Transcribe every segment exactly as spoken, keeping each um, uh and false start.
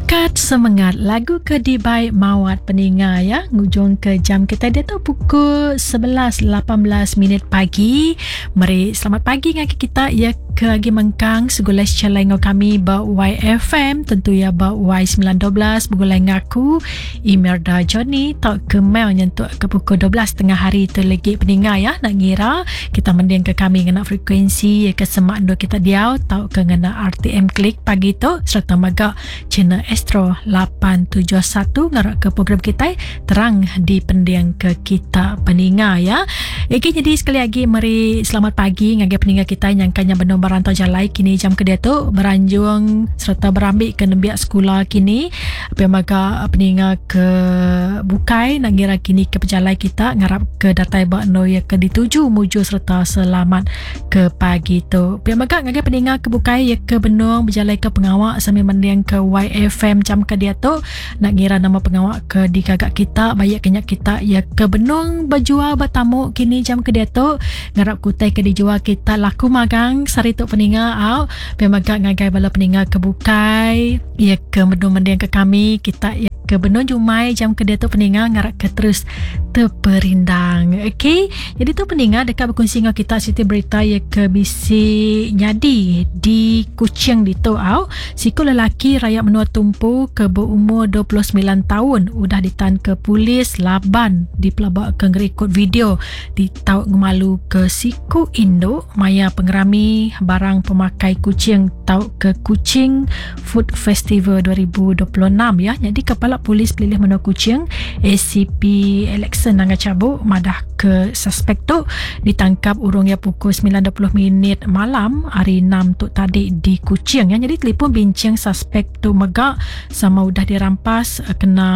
Angkat semengat lagu ke dibai Mawat peninga ya ngujung ke jam kita dia tu pukul sebelas lapan belas minit pagi. Meri selamat pagi ngagi kita ya ke agi mengkang segulai secalai ngau kami ba Y F M, tentu ya ba Y sembilan dua belas begulai ngaku Imelda Johnny tau ke mail nyentuk ke pukul dua belas tengah hari tu lagi peninga ya nak ngira kita mending ke kami ngena frekuensi ya ke semak dua kita diau tau ke ngena R T M Klik pagi tu serta mega channel Astro lapan tujuh satu ngarak ke program kita terang di pending ke kita peninga ya. Okey, jadi sekali lagi meri selamat pagi ngagai peninga kita yang kanya benar berantau jalai kini jam ke dia tu beranjung serta berambik ke nembiak sekolah kini. Apa maka peninga ke bukai nak ngira kini ke pejalai kita ngarap ke datai bak no ya ke dituju muju serta selamat ke pagi tu. Apa maka ngagai peninga ke bukai ya ke benung berjalai ke pengawak sambil mending ke Y F M jam ke dia tu nak ngira nama pengawak ke digagak kita bayak kenyak kita ya ke benung berjual bertamu kini jam ke dia tu ngarap kutai ke dijual kita laku magang sari tu peninga au pemagak ngagai bala peninga ke bukai ya ke benung mending ke kami kita ya ke benung jumai jam ke dia tu peninga ngarak ke terus terperindang. Okey, jadi tu peninga dekat berkongsi dengan kita siti berita ya ke bisi nyadi di Kuching di tu au. Siku lelaki rakyat menua tumpu ke berumur dua puluh sembilan tahun udah ditan ke polis laban di pelabak ke ngerekod video di tau ngemalu ke siku induk maya pengerami barang pemakai kucing tau ke Kuching Food Festival dua ribu dua puluh enam ya. Jadi kepala polis pelilih menua Kuching A C P Alexson Nanga Cabuk madah ke suspek tu ditangkap urungnya pukul sembilan dua puluh minit malam hari enam tu tadi di Kuching ya. Jadi telefon bincang suspek tu megak sama udah dirampas kena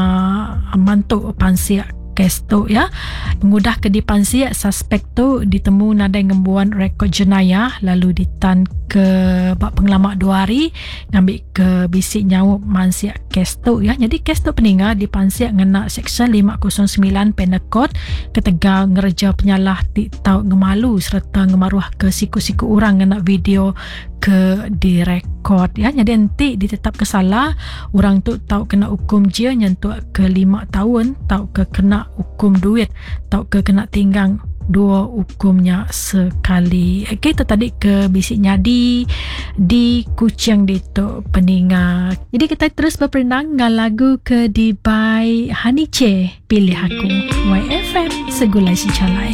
mantuk pansiak kes tu ya. Mengudah ke dipansiak suspek tu ditemu nadai ngembuan rekod jenayah lalu ditan ke bak pengelamak dua hari ngambil ke bisik nyawab mansiak kes tu ya. Jadi kes tu peninga dipansiak ngena seksyen lima kosong sembilan Penal Code ketegal ngereja penyalah ti tau ngemalu serta ngemaruah ke siku-siku orang ngena video ke direkod ya. Jadi nanti ditetap kesalah orang tu tau kena hukum je nyentuk ke lima tahun tau ke kena hukum duit tau ke kena tinggang dua hukumnya sekali. Okey, itu tadi ke bisik nyadi di Kuching di tu peninga. Jadi kita terus berperindang dengan lagu ke di by Honey Che, Pilih Aku. Y F M Segulai Secalai.